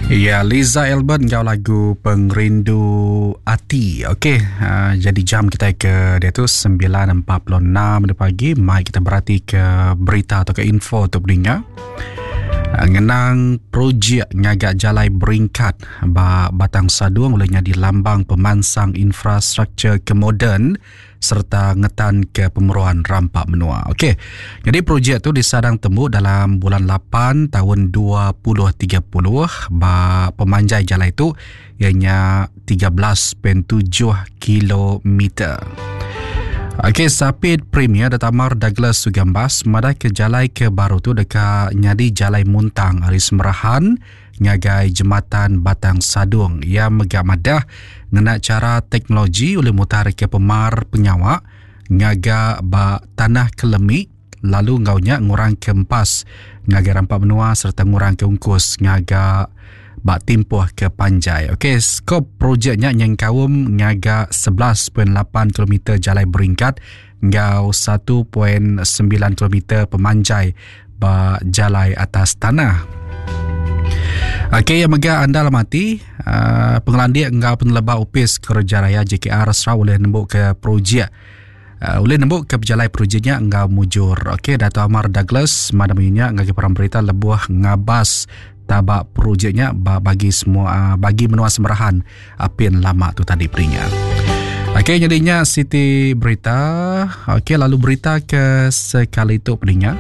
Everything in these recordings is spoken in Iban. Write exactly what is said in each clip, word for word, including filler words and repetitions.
Ya, Liza Albert ngau lagu Pengerindu Ati. Okey, uh, jadi jam kita ke dia tu sembilan empat puluh enam pagi. Mai kita berhati ke berita atau ke info untuk pendengar. Uh, ngenang projek ngagak jalai beringkat ba Batang Sadung olehnya di lambang pemansang infrastruktur ke moden serta ngetan ke pemeruan rampak menua. Okey. Jadi projek tu disadang temu dalam bulan lapan tahun dua ribu tiga puluh ba pemanjai jalan itu ianya tiga belas perpuluhan tujuh kilometer. Okey, Sapit Premier Datamar Douglas Sugambas madah ke jalai ke baru tu dekat nyadi jalai muntang ari Semerahan ngagai jematan Batang Sadung. Ia megak madah ngena cara teknologi oleh mutar ke pemar penyawa ngaga ba tanah kelemi lalu ngaunya ngurang ke empas ngagai rampak menua serta ngurang ke ungkus ngaga ba timpuh ke panjai. Okey, skop projeknya nyengkaum ngaga sebelas perpuluhan lapan kilometer jalai beringkat ngau satu perpuluhan sembilan kilometer pemanjai ba jalai atas tanah. Okey, yang mega anda lamati uh, pengelandik ngau peneleba upis kerja raya J K R Sarawak boleh nembuk ke projek uh, boleh nembuk ke berjalai projeknya ngau mujur. Okey, Dato' Amar Douglas madam inya ngagi perang berita lebuh ngabas tabak projeknya bagi semua bagi menua Semerahan apin lama tu tadi perinya. Okey, jadinya Siti berita. Okey, lalu berita ke sekali tu perinya.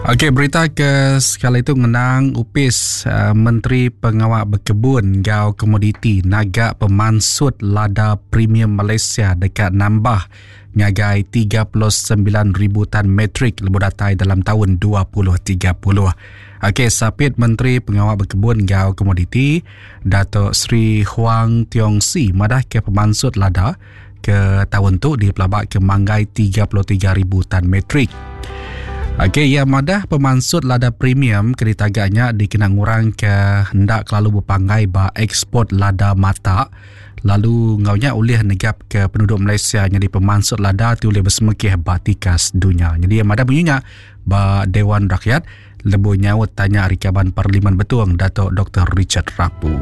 Okey, berita ke sekali itu mengenang upis uh, Menteri Pengawal Berkebun Gau Komoditi naga pemansut lada premium Malaysia dekat nambah ngagai tiga puluh sembilan ribu tan metrik lebuh datai dalam tahun dua ribu tiga puluh. Okey, Sapit Menteri Pengawal Berkebun Gau Komoditi Datuk Seri Huang Tiong Si madah ke pemansut lada ke tahun tu di pelabak ke manggai tiga puluh tiga ribu tan metrik. Okey, ya madah pemansut lada premium keritagaknya dikena ngurang ke hendak lalu berpanggai ba ekspor lada mata lalu ngaunya oleh negap ke penduduk Malaysia jadi pemansut lada tu oleh bersemekih ba tikas dunia. Jadi yang madah bunyinya ba Dewan Rakyat lebu nyaut tanya Rikaban Parlimen Betuang Datuk Doktor Richard Rapu.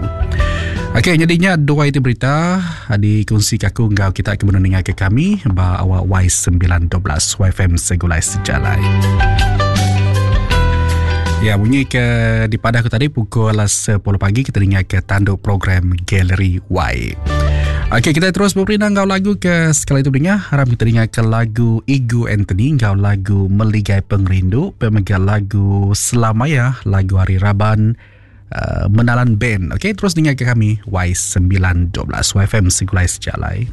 Okey, jadinya dua itu berita dikongsi kaku ngau kita ke mendengar ke kami ba awak Y sembilan dua belas Y F M Segulai Sejalai. Ya, bunyi ke di pada aku tadi pukul sepuluh pagi kita dengar ke tanduk program Galeri Y. Okey, kita terus berperindang ngau lagu ke sekali itu dengar. Harap kita dengar ke lagu Igu Anthony ngau lagu Meligai Pengerindu, pemegang lagu Selamaya, lagu Hari Raban Uh, Menalan Band. Okey, terus dengar ke kami Y sembilan dua belas Y F M Segulai Sejalai.